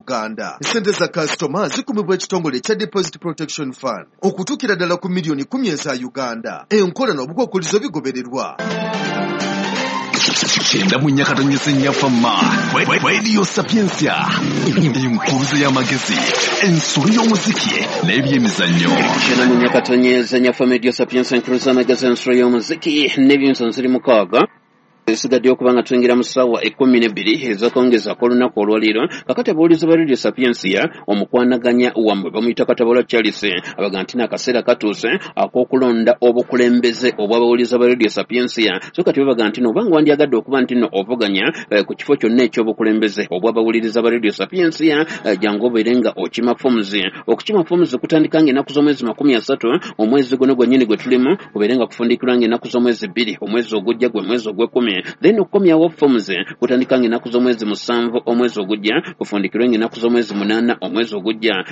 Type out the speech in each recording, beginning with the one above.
Uganda. Ssente za kasitoma zikumibwa ekitongole ekya Deposit Protection Fund okutuukira ddala ku miliyoni 10 eza Uganda. Enkola n'obukwakkulizo bigobererwa. 94.4 Fama Radio Sapientia, enkuluze y'amagezi, ensolo y'omuziki n'ebyemizannyo. 94.4 Fama Radio Sapientia, enkuluze y'amagezi, ensolo y'omuziki n'ebyemizannyo. Ziri 6 esigadde okuba nga tuyingira mu ssaawa 12 ez'akawungeezi ak'olunaku olwaleero. Kakati abaawulizi ba Radio Sapientia, omukwanaganya wammwe bamuyita Katabula Charles, abaga nti n'akaseera katuuse ak'okulonda obukulembeze obw'abawulizi ba Radio Sapientia. So kati babaga nti no obanga wandyagadde okuba nti no ovuganya ku kifo kyonna eky'obukulembeze obw'abawuliriza ba Radio Sapientia, jangu obeere nga okima forms. Okukima forms kutandika ng'ennaku z'omwezi 30 omwezi guno gwennyini gwe tulimu, obeere nga kufundikirwa ng'ennaku z'omwezi 2 omwezi ogujja, gwe mwezi ogw'ekkumi. Then okukomyawo forms kutandika ng'ennaku z'omwezi 7 omwezi ogujja, kufundikirwe ng'ennaku z'omwezi 8 omwezi ogujja.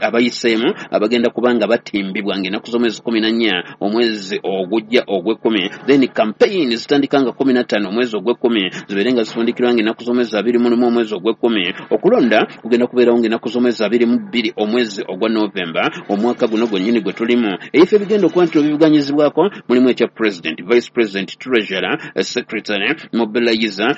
Abayiseemu abagenda kuba nga batimbibwa ng'ennaku z'omwezi 14 omwezi ogujja ogw'ekkumi. Then campaign zitandika nga 15 omwezi ogw'ekkumi, zibeere nga zifundikirwa ng'ennaku z'omwezi 21 omwezi ogw'ekkumi. Okulonda kugenda kubeerawo ng'ennaku z'omwezi 22 omwezi ogwa Novemba omwaka guno gwennyini gwe tulimu. Ebifo ebigenda okuba nti bivuganyizibwako mulimu ekya president, vice president, treasurer, secretary, mobilizer,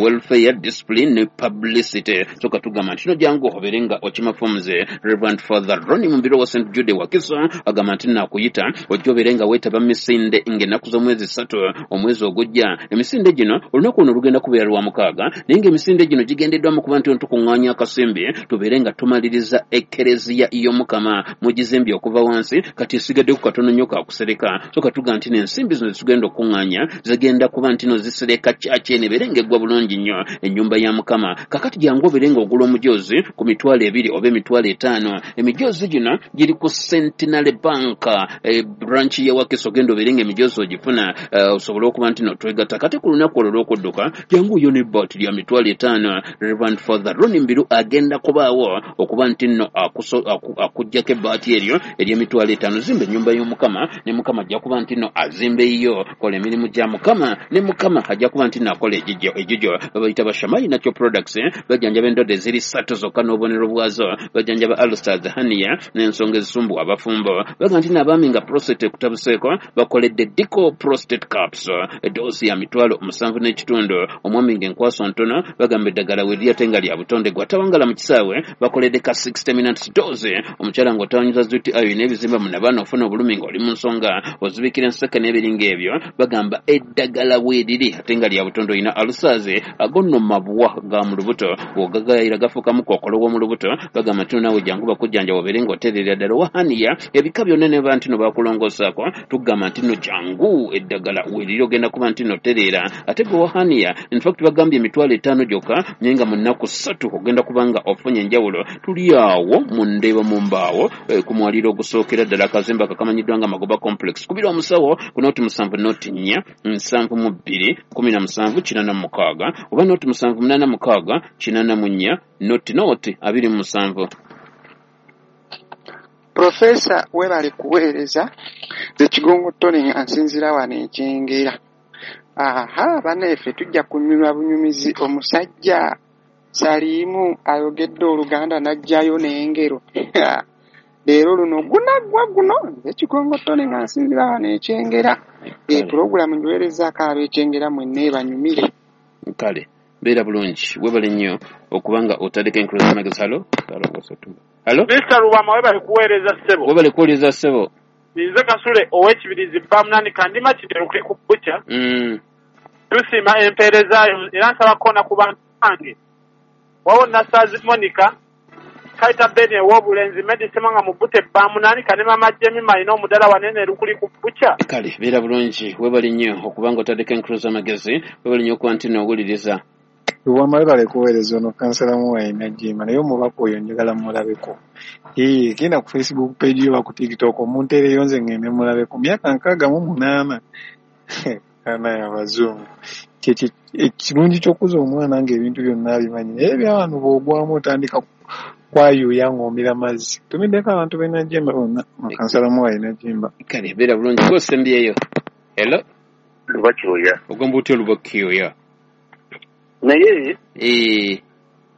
welfare, discipline ne publicity. So katugamba nti no jangu obeere nga okima forms. Reverend Father Ronnie Mumbiro wa St Jude Wakiso agamba nti nakuyita ojja obeere nga weetaba misinde ng'ennaku z'omwezi 3 omwezi ogujja. Emisinde gino olunaku luno lugenda kubeera lwa 6, naye ng'emisinde gino gigendeddwamu kuba nti tukuŋŋaanya akasimbi tubeere nga tumaliriza ekkereziya y'Omukama mugizimbye okuva wansi, kati esigadde ku katono nnyo kakusereka. So katuga nti n'ensimbi zino zitugenda okuŋŋaanya zigenda kuba nti no zisereka kyaki eno ebeere ng'eggwa bulungi nnyo ennyumba ya Mukama. Kakati jangu obeere ng'ogula omujoozi ku 20,000 oba 50,000. Emijoozi gino giri ku Centenary Bank branch ya Wakiso, ogenda obeere ng'emijoozi ogifuna osobole okuba nti no twegatta. Kati ku lunaku olwo olw'okudduka jangu yo n'ebbaati lya 50,000. Reverend Father Ronnie Mbiru agenda kubaawo okuba nti nno akuggyako ebbaati eryo ery'emitwalo 5. Zimba ennyumba y'Omukama ne Mukama ajja kuba nti nno azimba eyiyo. Kola emirimu gya Mukama ne Mukama ajja kuba nti naakola egigyo. Babayita Bashamai Natural Products, bajjanjaba endwadde eziri 3 zokka n'obubonero bwazo. Bajjanjaba ulcers, hernia n'ensonga ezisumbuwa abafumbo. Baga nti n'abaami nga prostate ekutabuseeko bakoledde Dico Prostate Caps, edoozi ya 7,500. Omwami ng'enkwaso ntono, bagamba eddagala we ate nga lya butonde, gwatawangala mu kisaawe bakoledde ka 60 minutes dose. Omukyala ng'otawanyiza zuti ayo n'ebizimba munabaana ofuna obulumi ng'oli mu nsonga ozibikira enseke n'ebiringa ebyo, bagamba eddagala weeriri ate nga lya butonde. Olina ulcers, ago nno mabwa ga mu lubuto, bw'ogagayira gafuukamu kookolo w'omu lubuto, bagamba nti naawe jangu bakujjanjaba obeere ng'otereera ddala. Owa hernia ebika byonna ne ba nti no bakulongoosaako, tugamba nti nno jangu eddagala weeriri ogenda kuba nti nno otereera. Ate gwe owa hernia, in fact bagambye 50,000 gyokka, naye nga mu nnaku 3 ogenda kuba nga ofunye enjawulo. Tuli awo mu Ndeeba mu mbaawo ku mwaliro ogusookera ddala akazimba kakamanyiddwa nga Magoba Complex. Kubira omusawo ku 07 04 72 17 86 oba 07 86 84 00 27. Profesa, webale kuweereza. Nze Kigongo Tony nga nsinziira wano Ekyengera. Aha, bannaffe tujja kunyumya bunyumizi. Omusajja Saliimu ayogedde Oluganda n'aggyayo n'engero. Leero luno gunaggwa guno. Nze Kigongo Tony nga nsinziira wano Ekyengera. Pulogulaamu ngiweerezaako ab'Ekyengera mwenna ebanyumire. Kale beera bulungi, webale nnyo okuba nga otaddeko enkuluze magezi. Halo, halo. Mr. Lubwama, webale kuweereza ssebo. Webale kuwuliriza ssebo. Nze Kasule ow'Ekibirizi Bamunani Kandima Kideruke ku Bukya. Tusiima empeerezaayo era nsaba kkoona ku bantu bange. Wawo Nassaazi Monica, Kaita Ben ew'obulenzi, Medi Ssemwanga mu Bute Bamunani, ne Mama Jemima alina omudala wanene Lukuli ku Bukya. Kale beera bulungi, webale nnyo okuba nga otaddeko enkuluze amagezi, webale nnyo okuba nti n'owuliriza. Lubwama, webale kuweereza. Ono kansala Muwayi Najjemba, naye omubaka oyo njagala mulabeko. Genda ku Facebook page yo oba ku TikTok omunteereyo nze ngende mulabeko. Myaka 68, anaye abazungu. Kyekyo ekirungi ky'okuza omwana ng'ebintu byonna abimanyi, naye ebyawano bw'ogwamu otandika kwayuuya ng'omira mazzi. Tumiddeko abantu b'e Najjemba bonna, kansala Muwayi Najjemba. Kale beera bulungi, gw'osembyeyo. Hello. Lubakyoya. Ogamba otya Lubakyoya? Naye